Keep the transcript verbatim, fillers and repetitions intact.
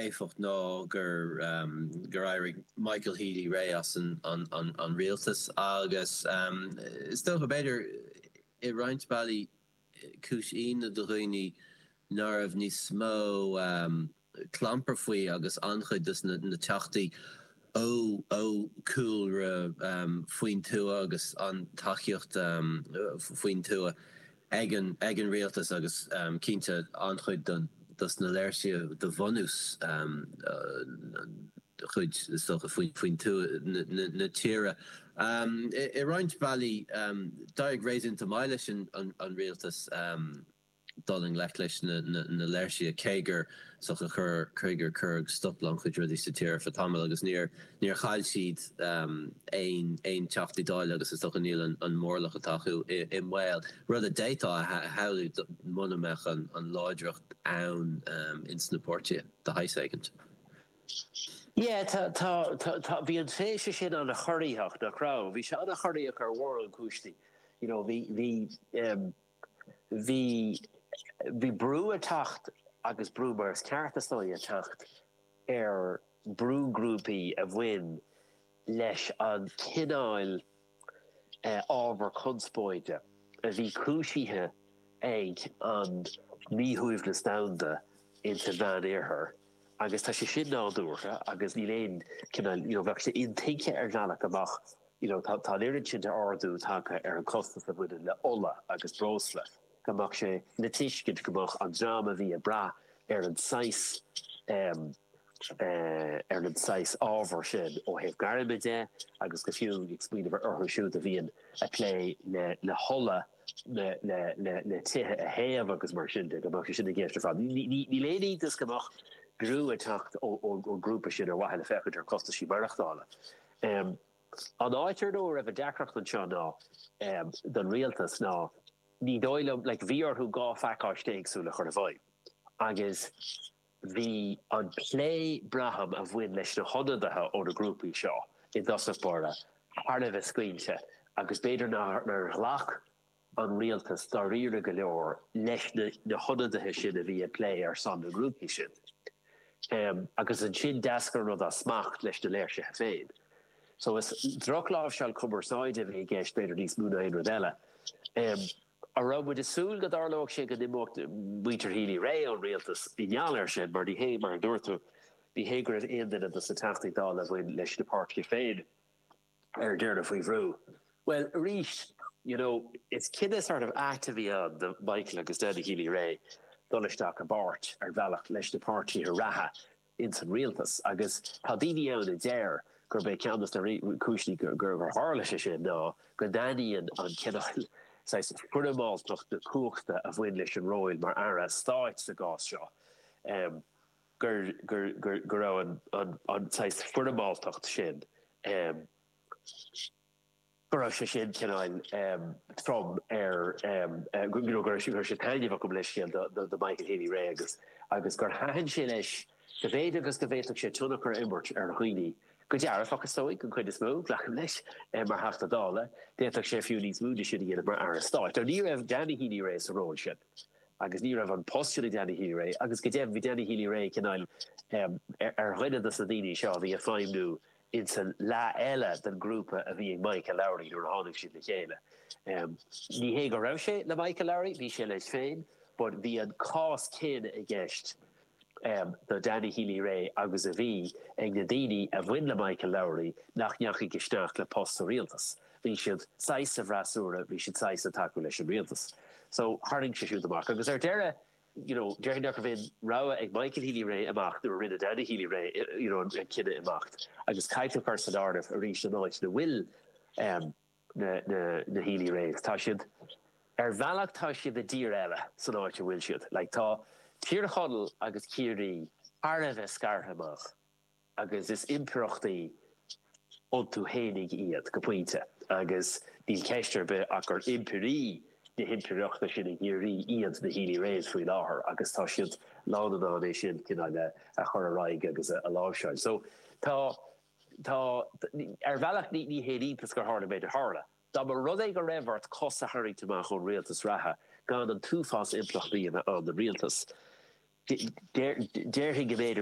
éifeacht ná gur gur éirigh Michael Healy-Rae as an an an an rialtas agus is dócha b'fhéidir i roinnt bealaí cúis ionadh do dhaoine nach raibh níos mó clampar faoi agus an-chuid dos na na teachtaí ó ó chúlra faoin tuath agus an tacaíocht faoin tuath ag an ag an rialtas agus cinnte an-chuid don dos na léirsithe de bhunús chuid is dócha faoin faoin tuath na na tíre. I roinnt bealaí d'éirigh réasúnta maith leis an an rialtas dul i ngleic leis na na léirsithe cé gur so chur cé gur cuireadh stop le an-chuid rudaí sa tír ar feadh tamaill agus níor níor chaill siad aon aon teachtaí Dála agus is dócha níl an an mórlach atá acu i i mbaol rud a d'fhéadfá a shamhlú muna mbeadh an an láidreacht ann ins na páirtithe de shaghas éigin. Yeah, tá tá tá bhí an tréimhse sin an-chorraitheach nach raibh, bhí sé an-chorraitheach ar mhórán cúinsí. You know, bhí bhí um, bhí bhí brú ag teacht agus brú mar is ceart is dóigh ag teacht ar brúghrúpaí a bhain leis an cineál uh, ábhar conspóide a bhí cúisithe ag an míshuaimhneas domhanda insa Mheánoirthear agus tá sé sin nádúrtha agus níl aon cineál you know, bheadh sé intuigthe ar bhealach amach you know, tá tá oiread sin d'ardú tagtha ar an costas a bhaineann le ola agus breosla go mbeadh sé le tuiscint go mbeadh an dream a bhí ag brath ar an saghas um, uh, ar an saghas ábhar sin ó thaobh gairme de agus go fiú ag smaoineamh orthu siúd a bhíonn ag plé le le hola le le le le tithe a théamh agus mar sin de go mbeadh sé sin i gceist ar fad. Níl aon iontas go mbeadh brú ag teacht ón grúpa sin ar mhaithe le féachaint ar costaisí maireachtála. Um, an áit ar ndóigh raibh a deacracht anseo ná um, don rialtas ná ní dóigh liom like, bhí orthu dhá phacáiste éagsúil a chur i bhfeidhm. Agus bhí an plé braithim a bhain leis na hionadaithe ó na grúpaí seo i dtosach báire thar a bheith scaoilte agus b'fhéidir nár ghlac an rialtas dáiríre go leor leis na, na hionadaithe sin a bhí ag plé ar son na grúpaí sin. Um, agus ansin d'éirigh an rud as smacht leis na léirsithe féin. So is drochláimhseáil cumarsáide a bhí i gceist b'fhéidir níos mó ná aon rud eile. Um, an raibh muid ag súil go dtarlódh sé go n-imeodh muintir Healy-Rae ón rialtas i ngeall air sin mar ní hé mar a dúirt tú ní hé go raibh aon duine de na Teachtaí Dála a bhain leis na páirtithe féin ar deireadh faoi bhrú. Well arís you know, is cinneadh sort of ait a bhí ann do Michael agus Danny Healy-Rae dul isteach i bpáirt ar bhealach leis na páirtithe reatha ins an rialtas agus tá daoine ann a deir gurb é ceann de na cúiseanna gur gur tharla sé sin ná go dtaitníonn an cineál foirmeáltacht na cumhachta a bhain leis an ról mar aire stáit sa gcás seo. Um, gur gur gur go raibh an an an foirmeáltacht sin um, go raibh sé sin cineál um, trom ar um, uh, go go raibh sé taitneamhach go leiscéal do Michael Healy-Rae agus agus gur thaitin sé leis go bhféidir agus go bhféadfadh sé tionchar a imirt ar dhaoine. Go dearfach is dóigh an chuid is mó glacaim leis eh, mar Theachta Dála, d'fhéadfadh sé fiú níos mó sin a dhéanamh mar aire stáit. Ní raibh Danny Healy-Rae sa ról sin. agus ní raibh an post sin ag Danny Healy-Rae agus go deimhin bhí Danny Healy-Rae cineál um, ar, ar dhuine de na daoine seo bhí ag feidhmiú insan leath eile den grúpa a bhí ag Michael Lowry nuair a tháinig siad le chéile. Um, ní hé go raibh sé le Michael Lowry, bhí sé leis féin, but bhí an cás céanna i gceist um, do Danny Healy-Rae agus a bhí ag na daoine a bhain le Michael Lowry nach ndeachaigh isteach le post sa rialtas. Bhí siad saghas sa bhfreasúra, bhí siad saghas ag tacú leis an rialtas. So tharraing sé siúd amach agus ar deireadh you know, déarfainn nach raibh rogha ag Michael Healy-Rae imeacht nuair a rinne Danny Healy-Rae you know, an cinneadh imeacht. Agus caithfear cur san áireamh arís an áit ina bhfuil um, na, na, na Healy-Raes. Tá siad ar bhealach tá siad i dtír eile san áit a bhfuil siad. Like, tá Tír Chonaill agus Ciarraí thar a bheith scartha amach agus is impireachtaí iontu féinig iad go pointe agus níl ceist ar bith ach gur impirí na himpireachta sin i gCiarraí iad na Healy-Raes faoi láthair agus tá siad lán an é sin cineál a chur ar aghaidh agus a láimhseáil. So tá tá ar bhealach ní ní hé iontas gur tharla méid a tharla. Dá mba rud é go raibh ort cos a tharraingt amach ón rialtas reatha gan an t-uafás impleachtaí a bheith ann don rialtas. Déarfainn go mb'fhéidir